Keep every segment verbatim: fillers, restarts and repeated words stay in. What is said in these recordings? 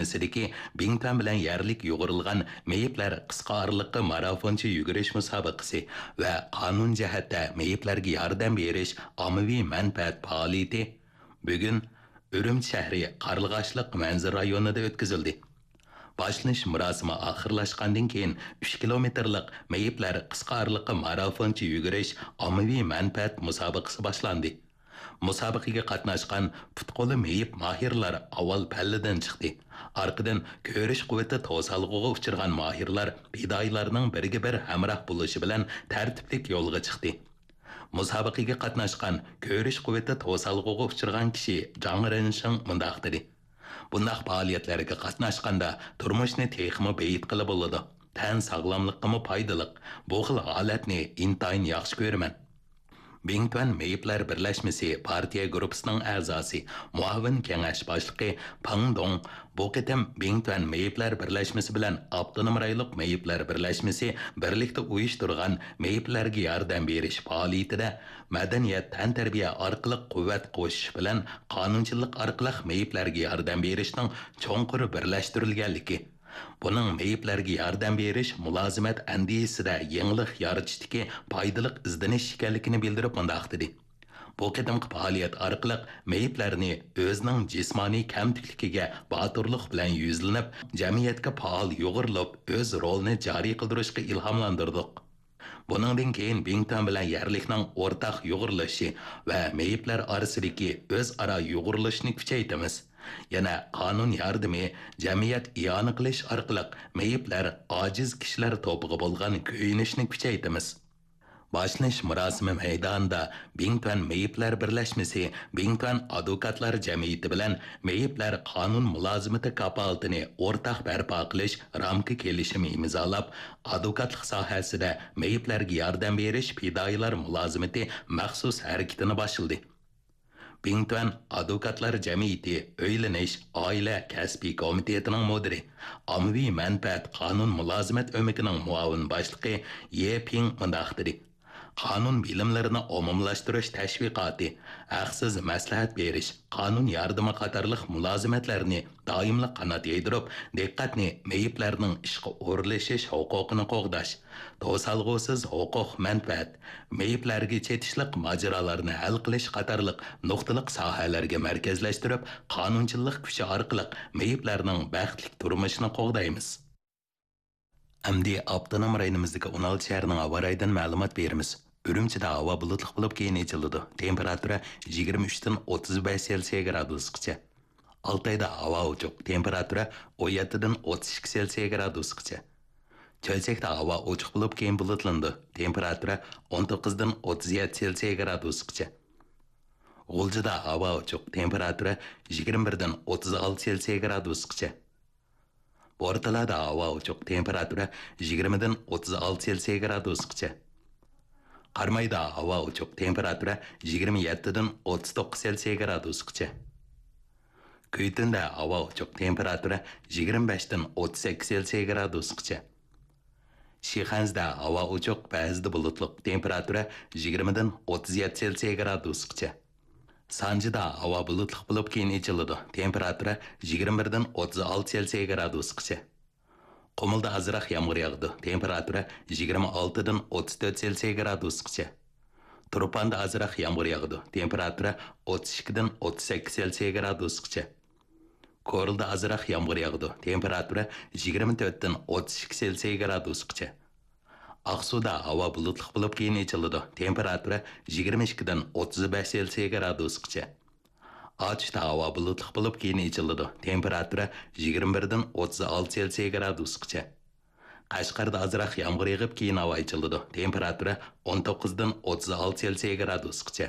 ئىدارىسىدىكى بىڭتۈەن بىلەن يەرلىك يۇغۇرۇلغان مېيىپلەر قىسقا ئارىلىققا مارافونچە يۈگۈرۈش مۇسابىقىسى ۋە قانۇن جەھەتتە مېيىپلەرگە ياردەم بېرىش ئاممىۋى مەنپەئەت پائالىيىتى بۈگۈن ئۈرۈمچى شەھىرى قارلىغاچلىق مەنزىرە رايونىدا ئۆتكۈزۈلدى. باشلىنىش مۇراسىمى ئاخىرلاشقاندىن كېيىن، ئۈچ كىلومېتىرلىق مېيىپلەر قىسقا ئارىلىققا مارافونچە يۈگۈرۈش ئاممىۋى مەنپەئەت مۇسابىقىسى باشلاندى. مۇسابىقىگە قاتناشقان پۇت-قولى مېيىپ ماھىرلار ئاۋۋال پەللىدىن چىقتى. ئارقىدىن كۆرۈش قۇۋۋىتى توسالغۇغا ئۇچرىغان ماھىرلار پىدائىيلارنىڭ بىرگە-بىر ھەمراھ بولۇشى بىلەن تەرتىپلىك يولغا چىقتى. مۇسابىقىگە قاتناشقان كۆرۈش قۇۋۋىتى توسالغۇغا ئۇچرىغان كىشى جاڭ رېنشىڭ مۇنداق دېدى: بۇنداق پائالىيەتلەرگە قاتناشقاندا تۇرمۇشنى تېخىمۇ بېيىتقىلى بولىدۇ. تەن ساغلاملىققىمۇ پايدىلىق. بۇ خىل ھالەتنى ئىنتايىن ياخشى كۆرىمەن. بىڭتۈەن مېيىپلەر بىرلەشمىسى پارتىيە گۇرۇپپىسىنىڭ ئەزاسى، مۇئاۋىن كېڭەش باشلىقى پېڭ دۇڭ بۇ قېتىم بىڭتۈەن مېيىپلەر بىرلەشمىسى بىلەن ئاپتونوم رايونلۇق مېيىپلەر بىرلەشمىسى بىرلىكتە ئۇيۇشتۇرغان مېيىپلەرگە ياردەم بېرىش پائالىيىتىدە مەدەنىيەت، تەنتەربىيە ئارقىلىق قۇۋۋەت قوشۇش بىلەن قانۇنچىلىق ئارقىلىق مېيىپلەرگە ياردەم بېرىشنىڭ چوڭقۇر بىرلەشتۈرۈلگەنلىكى، بۇنىڭ مېيىپلەرگە ياردەم بېرىش مۇلازىمەت ئەندىزىسىدە يېڭىلىق يارىتىشتىكى پايدىلىق ئىزدىنىش ئىكەنلىكىنى بىلدۈرۈپ مۇنداق دېدى: بۇ قېتىمقى پائالىيەت ئارقىلىق مېيىپلەرنى ئۆزىنىڭ جىسمانىي كەمتۈكلۈكىگە باتۇرلۇق بىلەن يۈزلىنىپ، جەمئىيەتكە پائال يۇغۇرۇلۇپ، ئۆز رولىنى جارى قىلدۇرۇشقا ئىلھاملاندۇردۇق. بۇنىڭدىن كېيىن بىڭتۈەن بىلەن يەرلىكنىڭ ئورتاق يۇغۇرۇلۇشى ۋە مېيىپلەر ئارىسىدىكى ئۆزئارا يۇغۇرۇلۇشنى كۈچەيتىمىز. يەنە قانۇن ياردىمى، جەمئىيەت ئىئانە قىلىش ئارقىلىق مېيىپلەر، ئاجىز كىشىلەر توپىغا بولغان كۆيۈنۈشنى كۈچەيتىمىز. باشلىنىش مۇراسىمى مەيدانىدا بىڭتۈەن مېيىپلەر بىرلەشمىسى، بىڭتۈەن ئادۋوكاتلار جەمئىيىتى بىلەن مېيىپلەر قانۇن مۇلازىمىتى كاپالىتىنى ئورتاق بەرپا قىلىش رامكا كېلىشىمى ئىمزالاپ، ئادۋوكاتلىق ساھەسىدە مېيىپلەرگە ياردەم بېرىش پىدائىيلار مۇلازىمىتى مەخسۇس ھەرىكىتىنى باشلىدى. بىڭتۈەن ئادۋوكاتلار جەمئىيىتى ئۆيلىنىش، ئائىلە، كەسپىي كومىتېتىنىڭ مۇدىرى، ئاممىۋى مەنپەئەت قانۇن مۇلازىمەت ئۆمىكىنىڭ مۇئاۋىن باشلىقى يې پىڭ مۇنداق دېدى: قانۇن بىلىملىرىنى ئومۇملاشتۇرۇش تەشۋىقاتى، ھەقسىز مەسلىھەت بېرىش، قانۇن ياردىمى قاتارلىق مۇلازىمەتلەرنى دائىملىق قانات يايدۇرۇپ، دىققەتنى مېيىپلەرنىڭ ئىشقا ئورۇنلىشىش ھوقۇقىنى قوغداش، توسالغۇسىز ھوقۇق مەنپەئەت، مېيىپلەرگە چېتىشلىق ماجىرالارنى ھەل قىلىش قاتارلىق نۇقتىلىق ساھەلەرگە مەركەزلەشتۈرۈپ، قانۇنچىللىق كۈچى ئارقىلىق مېيىپلەرنىڭ بەختلىك تۇرمۇشىنى قوغدايمىز. ئەمدى ئاپتونوم رايونىمىزدىكى ئون ئالتە شەھەرنىڭ ھاۋا رايىدىن مەلۇمات بېرىمىز. ئۈرۈمچىدە ھاۋا بۇلۇتلۇق بولۇپ، كېيىن ئېچىلىدۇ. تېمپېراتۇرا يىگىرمە ئۈچتىن ئوتتۇز بەش سېلسىيە گرادۇسقىچە. ئالتايدا ھاۋا ئوچۇق، تېمپېراتۇرا ئون يەتتىدىن ئوتتۇز ئىككى سېلسىيە گرادۇسقىچە. چۆچەكتە ھاۋا ئوچۇق بولۇپ، كېيىن بۇلۇتلىنىدۇ، تېمپېراتۇرا ئون توققۇزدىن ئوتتۇز يەتتە سېلسىيە گرادۇسقىچە. غۇلجىدا ھاۋا ئوچۇق، تېمپېراتۇرا يىگىرمە بىردىن ئوتتۇز ئالتە سېلسىيە گرادۇسقىچە. بورتالادا ھاۋا ئوچۇق، تېمپېراتۇرا يىگىرمىدىن ئوتتۇز ئالتە سېلسىيە گرادۇسقىچە. قارامايدا ھاۋا ئوچۇق، تېمپېراتۇرا يىگىرمە يەتتىدىن ئوتتۇز توققۇز سېلسىيە گرادۇسقىچە. كۈيتۈندە ھاۋا ئوچۇق، تېمپېراتۇرا يىگىرمە بەشتىن ئوتتۇز سەككىز سېلسىيە گرادۇسقىچە. شىخەنزىدە ھاۋا ئوچۇق، بەزىدە بۇلۇتلۇق، تېمپېراتۇرا يىگىرمىدىن ئوتتۇز يەتتە سېلسىيە گرادۇسقىچە. سانجىدا ھاۋا بۇلۇتلۇق بولۇپ، كېيىن ئېچىلىدۇ، تېمپېراتۇرا يىگىرمە بىردىن ئوتتۇز ئالتە سېلسىيە گرادۇسقىچە. قۇمۇلدا ئازراق يامغۇر ياغىدۇ، تېمپېراتۇرا يىگىرمە ئالتىدىن ئوتتۇز تۆت سېلسىيە گرادۇسقىچە. تۇرپاندا ئازراق يامغۇر ياغىدۇ، تېمپېراتۇرا ئوتتۇز ئىككىدىن ئوتتۇز سەككىز سېلسىيە گرادۇسقىچە. كورلىدا ئازراق يامغۇر ياغىدۇ، تېمپېراتۇرا يىگىرمە تۆتتىن ئوتتۇز ئىككى سېلسىيە گرادۇسقىچە. ئاقسۇدا ھاۋا بۇلۇتلۇق بولۇپ، كېيىن ئېچىلىدۇ، تېمپېراتۇرا يىگىرمە ئىككىدىن ئوتتۇز بەش سېلسىيە گرادۇسقىچە. ئاتۇشتا ھاۋا بۇلۇتلۇق بولۇپ، كېيىن ئېچىلىدۇ، تېمپېراتۇرا يىگىرمە بىردىن ئوتتۇز ئالتە سېلسىيە گرادۇسقىچە. قەشقەردە ئازراق يامغۇر يېغىپ، كېيىن ھاۋا ئېچىلىدۇ، تېمپېراتۇرا ئون توققۇزدىن ئوتتۇز ئالتە سېلسىيە گرادۇسقىچە.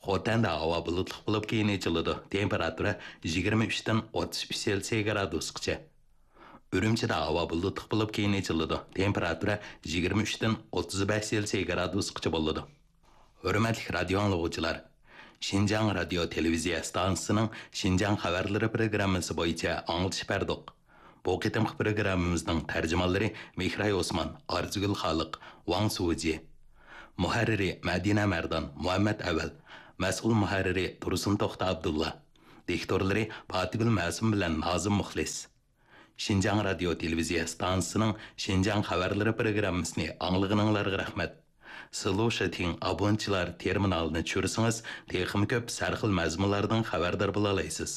خوتەندە ھاۋا بۇلۇتلۇق بولۇپ، كېيىن ئېچىلىدۇ، تېمپېراتۇرا يىگىرمە ئۈچتىن ئوتتۇز ئۈچ سېلسىيە گرادۇسقىچە. ئۈرۈمچىدە ھاۋا بۇلۇتلۇق بولۇپ، كېيىن ئېچىلىدۇ، تېمپېراتۇرا يىگىرمە ئۈچتىن ئوتتۇز بەش سېلسىيە گرادۇسقىچە بولىدۇ. ھۆرمەتلىك رادىيو ئاڭلىغۇچىلار! شىنجاڭ رادىيو تېلېۋىزىيە ئىستانسىسىنىڭ شىنجاڭ خەۋەرلىرى پروگراممىسى بويىچە ئاڭلىتىش بەردۇق. بۇ قېتىمقى پروگراممىمىزنىڭ تەرجىمانلىرى مېھراي ئوسمان، ئارزۇگۈل خالىق، ۋاڭ سۇجى. مۇھەررىرى مەدىنە مەردان، مۇھەممەت ئەۋەل. مەسئۇل مۇھەررىرى تۇرسۇن توختى ئابدۇللا. دىكتورلىرى پاتىگۈل مەسۇم بىلەن نازىم مۇخلىس. شىنجاڭ رادىيو تېلېۋىزىيە ئىستانسىسىنىڭ شىنجاڭ خەۋەرلىرى پروگراممىسىنى ئاڭلىغىنىڭلارغا رەھمەت. سلۇشىتىڭ ئابونېنتچىلار تېرمىنالىنى چۈشۈرسىڭىز، تېخىمۇ كۆپ سەرخىل مەزمۇنلاردىن خەۋەردار بولالايسىز.